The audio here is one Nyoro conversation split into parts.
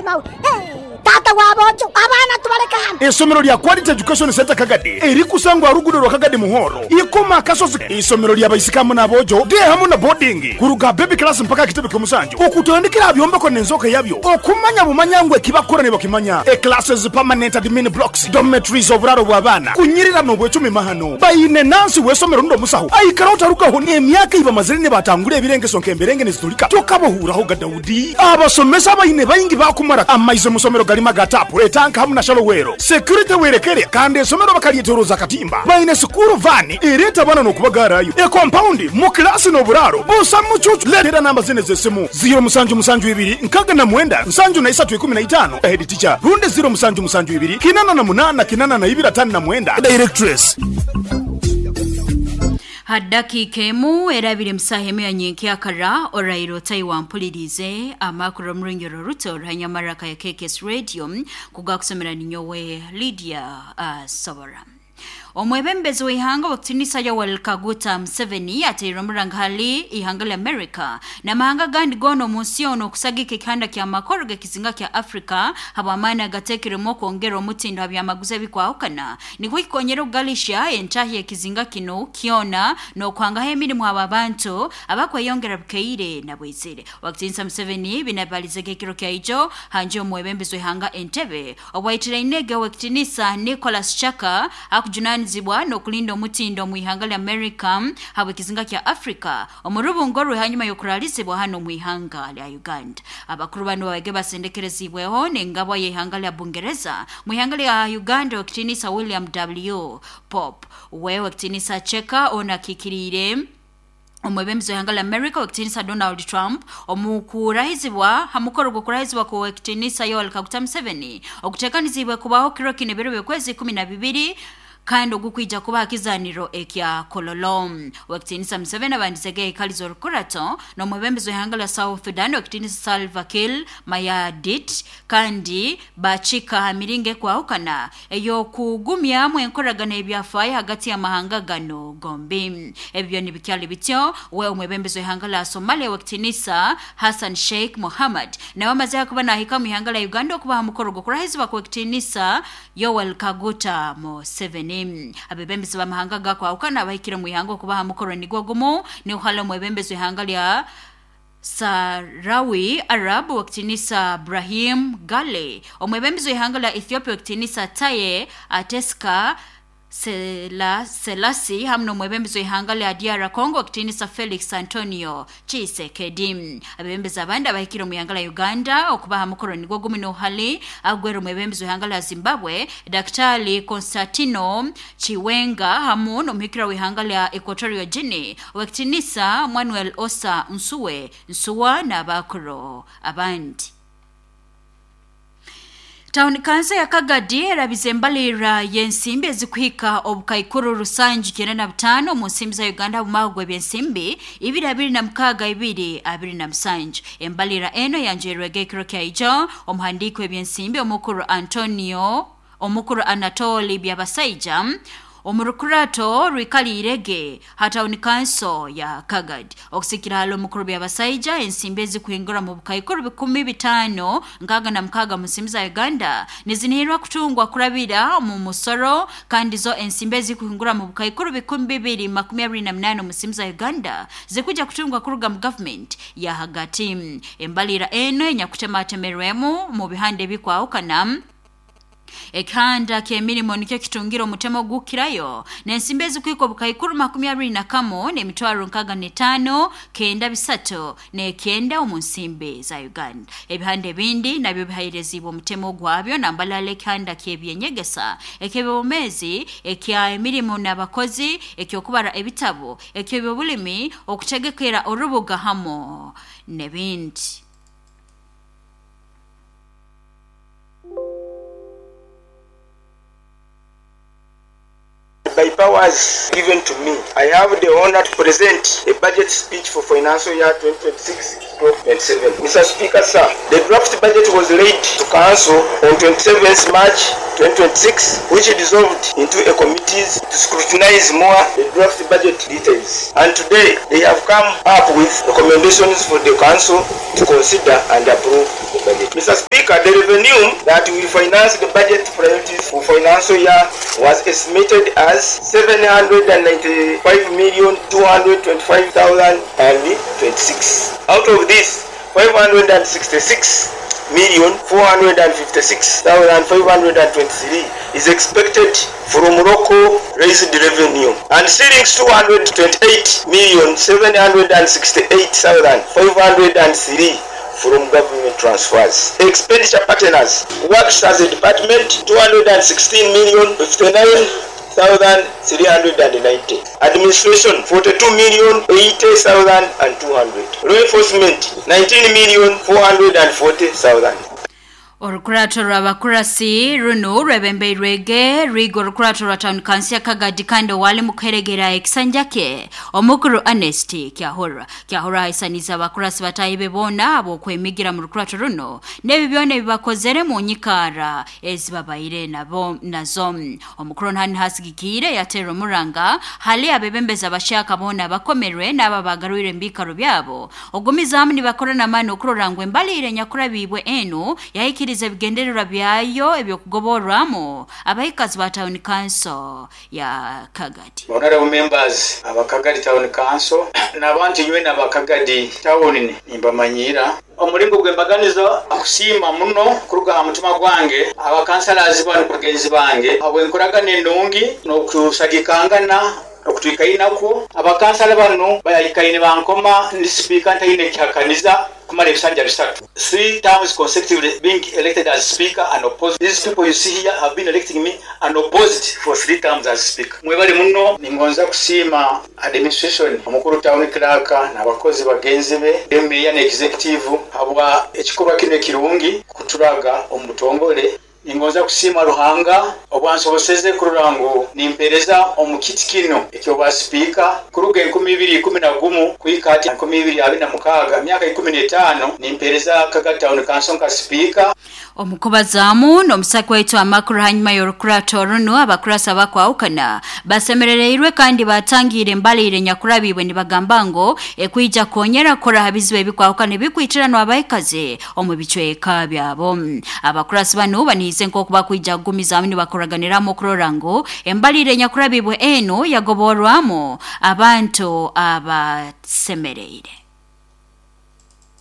mawe mawe Hee taata w'aboojo abaana tubaleke hanu. Eisomero lya Quality Education Centre Kagadi erikusangwa aha ruguudo rwa Kagadi Muhoro, Ikoma Akasozi. Eisomero lya baisiki hamu n'aboojo, day hamu na boarding, kuruga aha baby class mpaka aha kitebe ky'omusanju, okutandikira aha byombeko n'enzooka yabyo, okumanya bumanya ngu eki bakukora nibakimanya. E Classes, permanent admin blocks, dormitories, oburaaro bw'abaana, kunyirira n'obwecumi mahano. Baine nansi w'eisomero rundi omusaho aikaraho tarugaho n'emyaka ei bamazire nibatangura ebirengeso nk'emberenge nizitulika tokabahuuraho ga Daudi. Abasomesa abaine baingi baakumara amaizi omu somero garimu aga taapu, etanka hamu na shallow well. Security werekere kandi esomero bakaryetoroza akatimba. Baine sikuuru vaani ereeta abaana n'okubagaarayo. Ekompaundi, mu kilaasi n'oburaaro busa mucuucu. Leetera namba zinu ez'esimu, ziiro musanju musanju ibiri nkaaga na mwenda nsanju na isatu ikumi na itaano, Head teacher, rundi ziiro musanju musanju ibiri kinana na munaana kinana na ibiri ataano na mwenda, Directress. Ha dakiika emu erabire musaaha emu ya nyenkyakara oraire otayi wampuliriize amakuru omu runyoro ruto ruhanyamaraka ya KKS Radio kugakusomera ninyowe Lydia Sobora. Omwebembezi w'ihanga w'ekitinisa Yoweri Kaguta Museveni ateire omuranga hali ihanga lya America n'amahanga agandi goona omu nsi yoona okusagika ekihanda kya makoro g'ekizinga kya Africa habw'amaani agateekerwemu okwongera omutindo ha byamaguzi ebikwahukana nikwo kikonyera okugalihya entahya y'ekizinga kinu kyona n'okuhangaho emirimu abo abantu abakweyongera bukaire na bwizire. Owakitinisa Museveni binu abibalizege ekiro kya ijo hanju y'omwebembezi w'ihanga Entebbe obwaitirainege Owekitinisa Nicholas Chaka akujunanizibwa n'okulinda omutindo omu ihanga lya America habw'ekizinga kya Africa omu rubungo rwe hanyuma y'okuralizibwa hanu omu ihanga lya Uganda. Abakuru banu babaige basendekerezibweho n'engabwa y'ihanga lya Bungereza mu ihanga lya Uganda Owekitinisa William W. Pope. We Owekitinisa Cheka onu akiikiriire omwebembezi w'ihanga lya America Owekitinisa Donald Trump omu kurahizibwa ha mukoro gw'okurahizibwa kw'Owekitinisa Yoweri Kaguta Museveni okuteekaniziibwe kubaho kiro kinu ebiro by'okwezi 12 kandi ogukwija kuba ha kizaaniro ekya Kololo. Owekitinisa Museveni abandizege yaikaliza orukurato n'omwebembezi w'ihanga lya South Sudan Owekitinisa Salva Kiir Mayardit kandi baakika ha miringo ekwahukana ey'okugumyamu enkoragana y'ebyafaayo hagati y'amahanga ganu gombi. Ebyo nibikyali bityo, we omwebembezi w'ihanga lya Somalia Owekitinisa Hassan Sheikh Mohamud nawe amazeho kuba naahika omu ihanga lya Uganda okuba ha mukoro gw'okurahizibwa kw'Owekitinisa Yoweri Kaguta Museveni. Abebembezi b'amahanga agakwahukana abahikire omu ihanga okuba ha mukoro nigwo gumu niho hali omwebembezi w'ihanga lya Sahrawi Arab Owekitinisa Brahim Ghali, omwebembezi w'ihanga lya Ethiopia Owekitinisa Taye Ateska Selassie hamu n'omwebembezi w'ihanga lya DR Congo Owekitinisa Felix Antonio Tshisekedi. Abebembezi abandi abahikire omu ihanga lya Uganda okuba ha mukoro nigwo gumu nohali agwera omwebembezi w'ihanga lya Zimbabwe Daktari Constantino Chiwenga hamu n'omuhikirwa w'ihanga lya Equatorial Guinea Owekitinisa Manuel Osa Nsue Nsua n'abakuru abandi. Tawuni kanso ya Kagadi erabize embalirra y'ensimbi ezikuhika obukaikuru rusanju kyenda na butaano omu nsimbi za Uganda omu mwaka gw'ebyensimbi ibiri abiri na mukaaga ibiri abiri na musanju. Embalirra enu eyanjwirwege ekiro kya ijo omuhandiiki w'ebyensimbi omukuru Antonio omukuru Anatoli Byabasaija omu rukurato rwikaliirege ha tawuni kanso ya Kagadi. Okusikira hali omukuru Byabasaija ensimbi ezikuhingura mu bukaikuru 5,666 mu nsimbi za Uganda nizinihirwa kutungwa kurabira omu musoro kandi zo ensimbi ezikuhingura mu bukaikuru 2,028 mu nsimbi za Uganda zikuja kutungwa kuruga mu gavumenti ya hagati. Embalira enu enyakutematemerwemu mu bihanda ebikwahukana ekihanda ky'emirimo nikyo kitungire omutemo ogukukirayo n'ensimbi ezikuhika obukaikuru 21 n'emitwaro 65 kenda bisatu n'ekyenda omu nsimbi za Uganda. Ebihanda ebindi nabyo bihaireziibwe omutemo gwabyo nambalala ekihanda ky'ebyenyegesa, eky'ebyobumeezi, ekya emirimo n'abakozi, eky'okubara ebitabu, eky'ebyobulimi, okutegekera orubuga hamu n'ebindi. By powers given to me, I have the honour to present a budget speech for financial year 2026-27. Mr Speaker, sir, the draft budget was laid to council on 27th March 2026, which dissolved into a committee to scrutinize more the draft budget details. And today, they have come up with recommendations for the council to consider and approve the budget. Mr. Speaker, Speaker, the revenue that will finance the budget priorities for financial year was estimated as 795,225,026. Out of this, 566,456,523 is expected from local raised revenue and shillings 228,768,503 from government transfers. Expenditure partners works as a department 216,059,390, administration 42,080,200, law enforcement 19,440,000. Orukurato rw'abakurasi runu rwebembeirwege rwiga orukurato rwa town council ya Kagadi kandi owali mukuheregera ekisanja kye omukuru Ernest Kyahura. Kyahura aisaniza abakurasi batahi be boona ab'okwemigira mu rukurato runo n'ebi byona ebibakozere mu nyikara ezibabaire nabo nazo. Omukuru nhani hasigikiire yateera omuranga hali abebembezi abashaka boona abakomerwe n'abo abagarwire embikaro byabo ogumizaamu nibakora n'amaani okurora ngu embaliire nyakurabibwe enu yahikiriza ebigendererwa byayo ebyokugoborwamu abahikazi ba town council ya Kagadi. Honorable members aba Kagadi Town Council n'abantu nywe n'aba Kagadi Town nimbamanyira omulingo gw'embaganiza kusiima muno kuruga aha mutima gwange abakansalazi bano bagenzi bange habw'enkoragana enungi n'okusagikangana okutwikainakwo. Abakansala bano bayikaine bankoma ndi sipiika ntaine ekihakaniza kumara ebisanja bisatu, 3 times consecutively being elected as speaker and opposed. These people you see here have been electing me and opposed for 3 times as speaker. Mwebale muno. Ningonza kusiima administration, omukuru town clerk n'abakozi bagenzi be, meya ne executive, habwa ekikorwa kino ekirungi kuturaga omu butongole. Ningonza kusiima Ruhanga obwansoboseze kurora ngu nimpereza omu kiti kino ekyobwa sipiika kuruga 2011 kuhika hati 2026, myaka 15 nimpereza Kagadi Town Council nka sipiika. Omukubazaamu n'omusaki waitu amakuru hanyuma y'orukurato runu, abakurasa bakwahukana basemerereirwe kandi batangiire embaliire nyakurabibwe nibagamba ngu ekwija konyera kukora ha bizibu ebikwahukana ebikwitiranwa abaikazi omu bicweka byabo. Abakurasi banu baniize nk'oku bakwija kugumizaamu nibakoraganiramu okurora ngu embaliire nyakurabibwe enu yagoborwamu abantu abasemereire.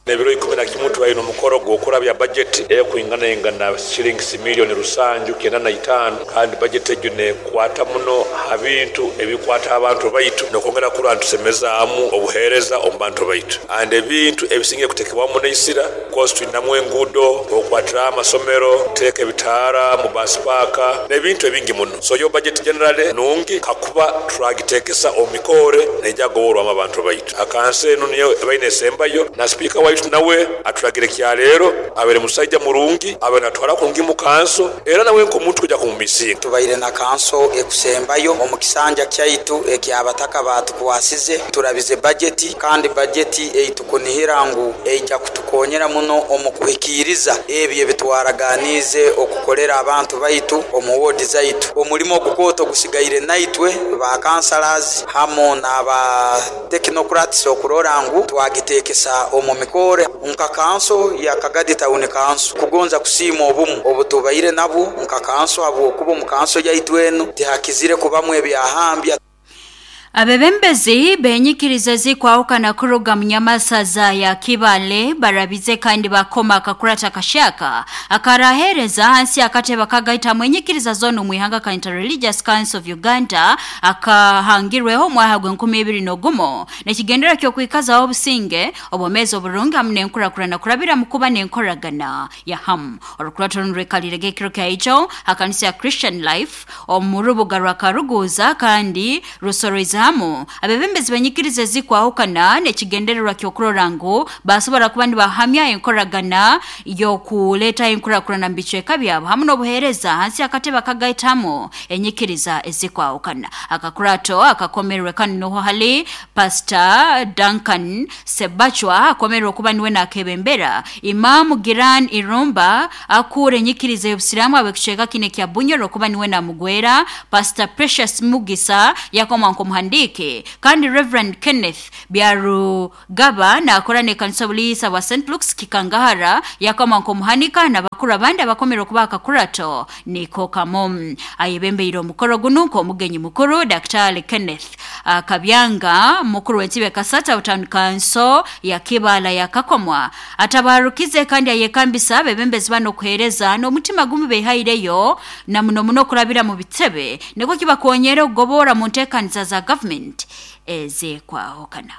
Ebiro 11 tubaine omukoro gw'okurabya budget ekwingana shillings miliyoni 795, kandi budget egyo nekwata muno ha bintu ebikwata abantu baitu nokwongera kurora ntusemezaamu obuheereza omu bantu baitu. And ebintu ebisingire kutekebwamu neisira, course tulinamu enguudo, okwatira amasomero, kuteeka ebitaara mu bus park n'ebintu ebingi muno. So yo budget generally nungi, kakuba turagitekesa omu mikore neija kugoborwamu abantu baitu. Akansi enu niyo ebaine esembayo na sipiika waitu nawe atulagire kyaleero abere musaija murungi, abe natwara kurungi mu kanso, era nawe nk'omuntu kuja kumumisinga. Tubaire na kanso ekusembayo omu kisanja kyaitu ekyabataka batukwasize. Turabize bajeti, kandi bajeti eitukunihira ngu eija kutukonyera muno omu kuhikiriza ebyo ebitwaraganiize okukolera abantu baitu omu wodi zaitu. Omulimo ogukooto gusigaire naitwe ba councillors hamu n'aba technocrats okurora ngu twagitekesa omu mikore nka kanso ya Kagadi Town Council. Kugonza kusiima obumu obutubaire nabwo nka kanso, habwokuba omu kanso yaitu enu tihakizire kubamu ebyahambya. Abebembezi benyikiriza zikwahukana kuruga munyamasaza ya Kibale barabize kandi bakoma akakurata kashaka akarahereza hansi akateba kagaita mwenyikiriza zonu mwihanga ka Interreligious Council of Uganda akahangirweho mwaha gwe 2021 nekigendera kyo kwikaza obusinge obomezi oburungi hamwe n'enkurakurana kurabira mukuba n'enkoragana ya hamu. Orukurato rurekalire gekiro kya ijo akanisa ya Christian Life omu rubuga rwa Karuguza kandi rusoroiza hamu abebembezi benyikiriza zikwahukana nekigendererwa kyokurora ngu basobora kuba nibahamya enkoragana yokuleta enkurakurana mu bicweka byabo hamwe n'obuheereza hansi akatebe akagaitamu enyikiriza ezikwahukana. Akakurato akakomerwe kanu noho hali Pastor Duncan Sebachwa akomerwe kuba niwe nakebembera, Imamu Giran Irumba akure enyikiriza y'obusiramu abekicweka kine kya Bunyoro kuba niwe namugwera, Pastor Precious Mugisa yakoma nkomuhanisi. nk'omuhandiiki kandi Rev Kenneth Byarugaba naakora n'ekanisa obuliisa bwa St Luke's Kikangahara yakoma nk'omuhanika n'abakuru abandi abakomere okuba akakurato niko kamu. Ayebembeire omukoro gunu nk'omugenyi mukuru Daktari Kenneth Kabyanga mukuru w'ensibe Kasata Town Council ya Kibaala yakakomwa atabarukize kandi ayekambisa abebembezi bano okuheereza n'omutima gumu behaireyo na muno muno okurabira mu bitebe nikwo kibakonyera okugobora mu nteekaniza za gavumenti ezekwahukana.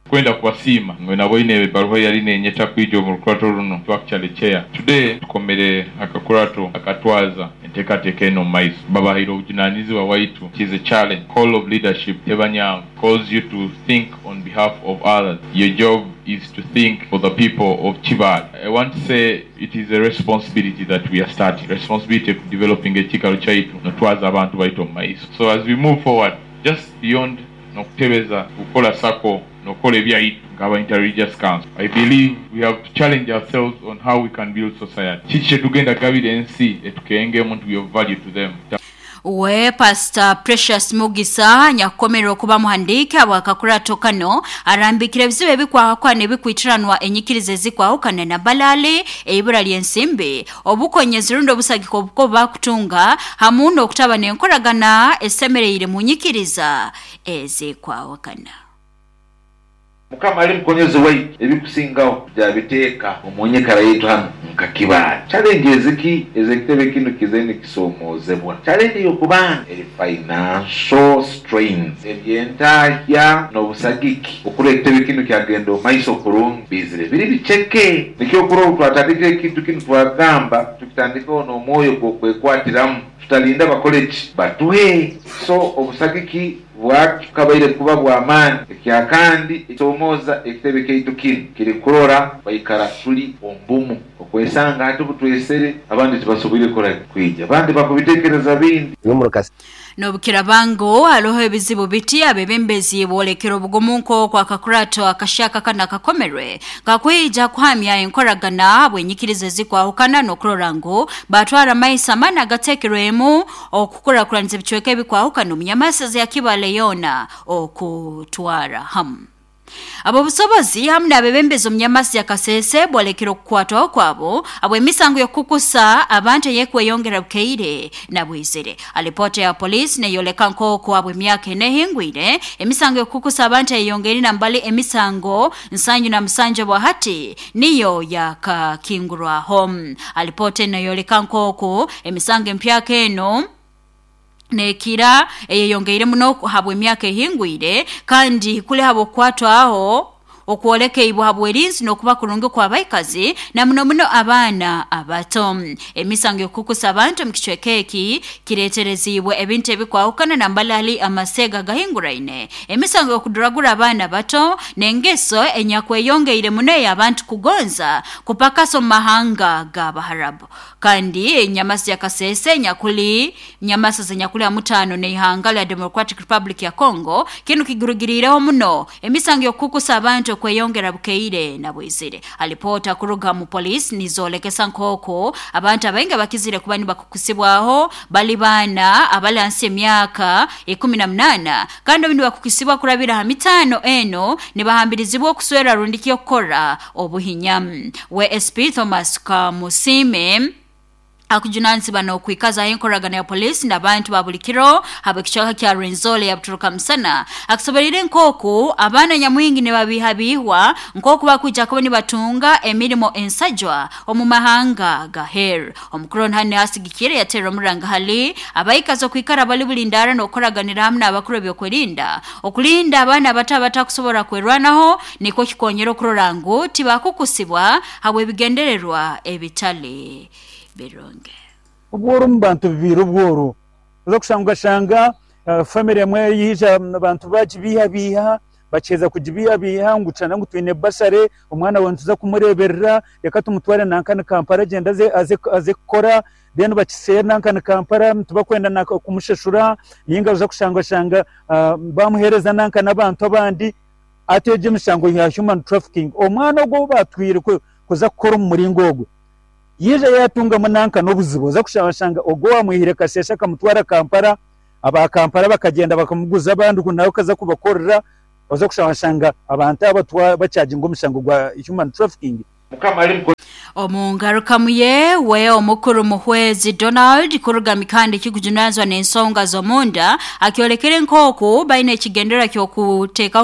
Kwenda kubasiima nyowe naboine ebaruha eyali nenyeta kwija omu rukurato runo to actually chair today. Tukomere akakurato akatwaza enteekateeka enu omu maiso. Babahaire obujunanizibwa waitu it is a challenge. Call of leadership teba nyangu, calls you to think on behalf of others. Your job is to think for the people of Kibaale. I want to say it is a responsibility that we are starting, responsibility of developing ekikaro kyaitu notwaza abantu baitu omu maiso. So as we move forward just beyond nokutebeza, kukora sacco, nokukora ebyaitu nk'aba Inter-Religious Council, I believe we have to challenge ourselves on how we can build society. Kiki kyetugenda kugabira ensi etukengemu nti we of value to them. We Pastor Precious Mugisa nyakukomerwa okuba muhandiiki habw'akakurato kano arambikire ebizibu ebikwahukana ebikwitiranwa enyikiriza ezikwahukana na balaale, eibura ly'ensimbi, obukonyezi rundi obusagika obuko bakutunga hamu n'okutaba n'enkoragana esemereire mu nyikiriza ezikwahukana. Mukama ali mukonyezi waitu, ebikusingaho tugyabiteeka omu nyikara yaitu hanu nka Kibaale. Challenge eziki ez'ekitebe kinu kize nikisomoozebwa? Challenge ey'okubanza eri financial strains, eby'entahya n'obusagiki okurora ekitebe kinu kyagenda omu maiso kurungi bizire biri biceke. Nikyo okurora obu twatandikire ekintu kinu twagamba tukitandikeho n'omwoyo gw'okwekwatiramu tutalinda bakole ki? Batuhe. So obusagiki Bwakabaire kuba bw'amaani. Ekyakandi ekisomooza ekitebe kyaitu kinu kiri kurora twaikara tuli omu bumu. Okwesanga hati obutwesere abandi tibasoboire kukora ki? Kwija. Abandi bakubitekereza bindi. N'obukiraaba ngu haroho ebizibu biti, abebembezi boolekere obugumu nk'oku akakurato akahyaka kanu akakomerwe kakwija kuhamya enkoragana habw'enyikiriza ezikwahukana n'okurora ngu batwara amaiso amaani agateekerwemu Okukurakuraniza ebicweka ebikwahukana omu nyamasaza ya Kibale yoona okutwara hamu. Ab'obusobozi hamu n'abebembezi omu nyamasa ya Kasese bolekere okukwatwaho kwabo habw'emisango y'okukukusa abantu ey'ekweyongera bukaire na bwizire. Alipoota ya poliisi neyoleka nk'oku habw'emyaka ena ehingwire, emisango y'okukukusa abantu eyeyongeire nambali emisango 77 obwahati niyo yakakingurwaho. Alipoota enu eyoleka nk'oku emisango empyaka enu nekira eyeyongeire muno habw'emyaka ehingwire kandi kuli habw'okukwatwaho okwolekeibwe habw'erinzi n'okuba kurungi kw'abaikazi na muno muno abaana abato. Emisango y'okukukusa abantu omu kicweka eki kireetereziibwe ebintu ebikwahukana nambali hali amaseega agahinguraine, emisango y'okuduragura abaana bato, n'engeso enyakweyongeire muno ey'abantu kugonza kupakasa omu mahanga g'Abaharabu. Kandi enyamasa ya Kasese enyakuli nyamasa zenyakuli ha mutaano n'ihanga lya Democratic Republic ya Congo, kinu kigurugiriireho muno emisango y'okukukusa abantu okweyongera bukaire na bwizire. Alipoota kuruga mu poliisi nizoolekesa nk'oku abantu abaingi abakizire kuba nibakukusibwaho bali baana abali hansi y'emyaka 18 kandi obu nibakukisibwa kurabira ha mitaano enu nibahambirizibwa okuswera rundiki okukora obuhinya. We SP Thomas Kamusiime akujunanizibwa n'okwikazaho enkoragana ya poliisi n'abantu ba buli kiro habw'ekicweka kya Rwenzori eya Buturuka Musana akusoboreire nk'oku abaana nyamwingi nibabiihabiihwa nk'oku bakwija kuba nibatunga emirimo ensajwa omu mahanga gaheeru. Omukuru onu hanu asigikire yaterra omuranga hali abaikazi okwikara bali bulindaara n'okukoraganira hamu n'abakuru ebyokwerinda okulinda abaana abato abatakusobora kwerwanaho nikwo kikonyera okurora ngu tibakukusibwa habw'ebigendererwa ebitali birungi. Obworo omu bantu bubaire obworo. Oza kushanga okashanga family emwe yaija abantu bagibiihabiiha, bakiheza kugibiihabiiha ngu tushanga ngu twine bursary, omwana waawe nituza kumureeberera, reka tumutware nanka ni Kampala agyende aze kukora, then bakiseere nanka ni Kampala tibakwenda na kumushashura, ninga oza kushanga oshanga bamuheereza nanka n'abantu abandi. Hati egyo emishango ya human trafficking, omwana ogwo ou baatwire kuza kukora omu muringo ogwo, Yaija yaatungamu nanka n'obuzibu, oza kushanga ogwo owaamwihire Kasese akamutwara Kampala. Aba Kampala bakagenda bakamuguza abandi nawe akaza kubakorera, oza kushanga abantu aba bacharginga omushango gwa human trafficking. Omungarukamu ye we omukuru Muhwezi Donald kuruga mikandi kikujunazwa n'ensonga z'omunda akyolekere nk'oku baine ekigendera ky'okuteekaho.